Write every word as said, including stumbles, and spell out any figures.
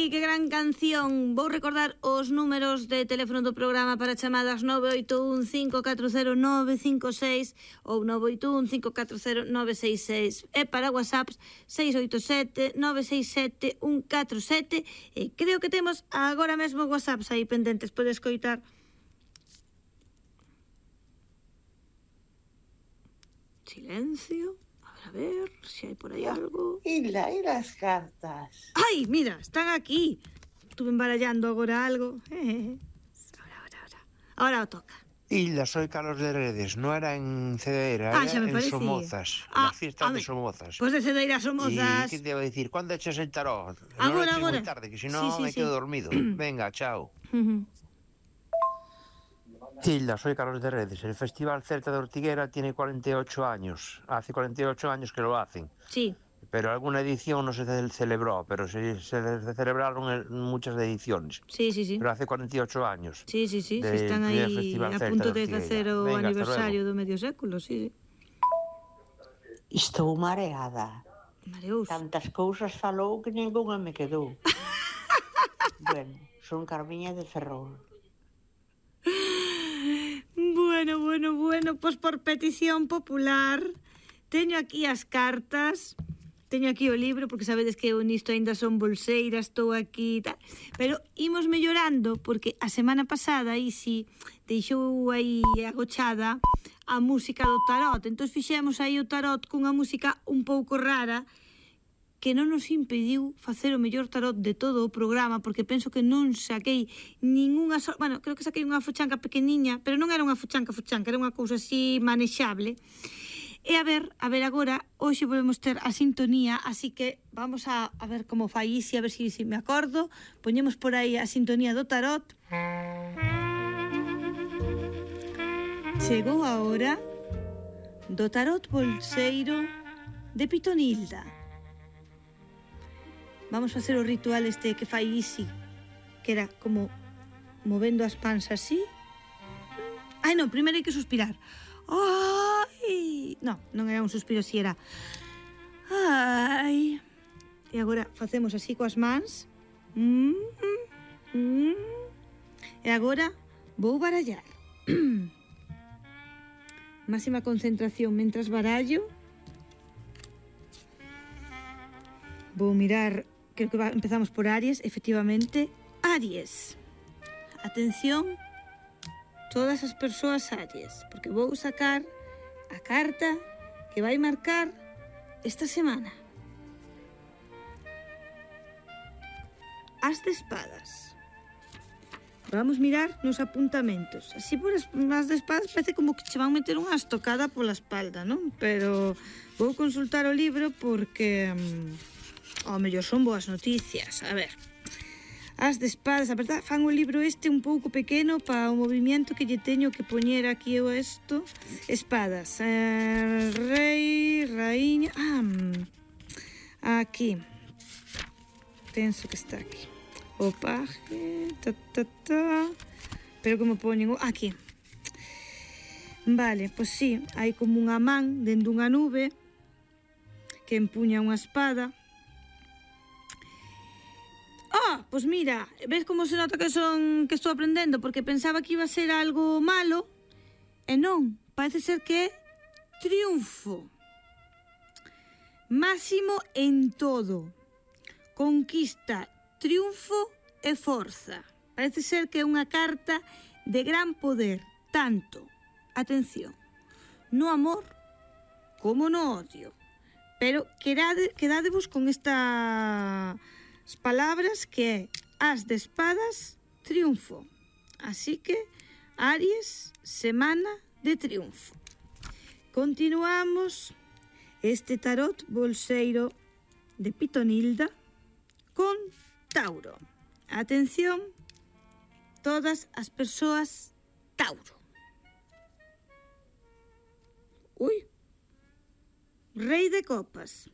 Ai, que gran canción. Vou recordar os números de teléfono do programa para chamadas nove oito un cinco catro cero nove cinco seis ou nove oito un cinco catro cero nove seis seis e para WhatsApps seis oito sete nove seis sete un catro sete e creo que temos agora mesmo WhatsApps aí pendentes, podes coitar. Silencio. A ver si hay por ahí algo. ¿Y, la, y las cartas? ¡Ay, mira! Están aquí. Estuve embarallando agora algo. Ahora, ahora, ahora. Ahora toca. Hilda, soy Carlos de Redes. No era en Cedeira, ah, era me en parecía. Somozas. Ah, la fiesta de Somozas. Pues de Cedeira Somozas. ¿Y qué te iba a decir? ¿Cuándo echas el tarot? Ahora, no lo eches ahora. muy tarde, que si no sí, sí, me sí. quedo dormido. Venga, chao. Uh-huh. Hilda, soy Carlos de Redes. El Festival Celta de Ortiguera tiene cuarenta y ocho años. Hace cuarenta y ocho años que lo hacen. Sí. Pero alguna edición no se celebró, pero se, se celebraron muchas ediciones. Sí, sí, sí. Pero hace cuarenta y ocho años. Sí, sí, sí. De, Están aí a punto de facer o Venga, aniversario do medio século, sí, sí. Estou mareada. Mareous. Tantas cousas falou que ninguna me quedou. Bueno, son Carmiña de Ferrol. Bueno, bueno, bueno, pois por petición popular teño aquí as cartas, teño aquí o libro, porque sabedes que eu nisto aínda son bolseira, estou aquí e tal, pero imos mellorando, porque a semana pasada aí si deixou aí agochada a música do tarot, entón fixemos aí o tarot cunha música un pouco rara, que non nos impediu facer o mellor tarot de todo o programa, porque penso que non saquei ningunha... So... Bueno, creo que saquei unha fuchanca pequeniña, pero non era unha fuchanca fuchanca, era unha cousa así manexable. E a ver, a ver agora, hoxe volvemos ter a sintonía, así que vamos a, a ver como fai Isi, a ver se si, si me acordo. Poñemos por aí a sintonía do tarot. Chegou a hora do tarot bolseiro de Pitonilda. Vamos facer o ritual este que fai Isi, que era como movendo as pans así. Ai, non, primeiro hai que suspirar. Ai! Non, non era un suspiro, si era. Ai! E agora facemos así coas mans. Mm, mm. E agora vou barallar. Máxima concentración mentras barallo. Vou mirar... Creo que va, empezamos por Aries, efectivamente. Aries. Atención, todas as persoas Aries, porque vou sacar a carta que vai marcar esta semana. As de espadas. Vamos mirar nos apuntamentos. Así por as, as de espadas parece como que che van meter unha estocada pola espalda, non? Pero vou consultar o libro porque... ao mellor son boas noticias. A ver, as de espadas, a verdad, fan o libro este un pouco pequeno para o movimento que lle teño que poñer aquí eu isto. Espadas, eh, rei, raíña, ah, aquí, penso que está aquí, o paje, ta, ta, ta, pero como poñen, aquí, vale, pois sí, hai como unha man dentro dunha nube que empuña unha espada. Ah, pois mira, ves como se nota que son que estou aprendendo, porque pensaba que iba a ser algo malo, e non, parece ser que é triunfo. Máximo en todo. Conquista, triunfo e forza. Parece ser que é unha carta de gran poder, tanto, atención, no amor como no odio. Pero quedade, quedadevos con esta... as palabras que é as de espadas, triunfo. Así que, Aries, semana de triunfo. Continuamos este tarot bolseiro de Pitonilda con Tauro. Atención, todas as persoas Tauro. Ui, Rei de copas.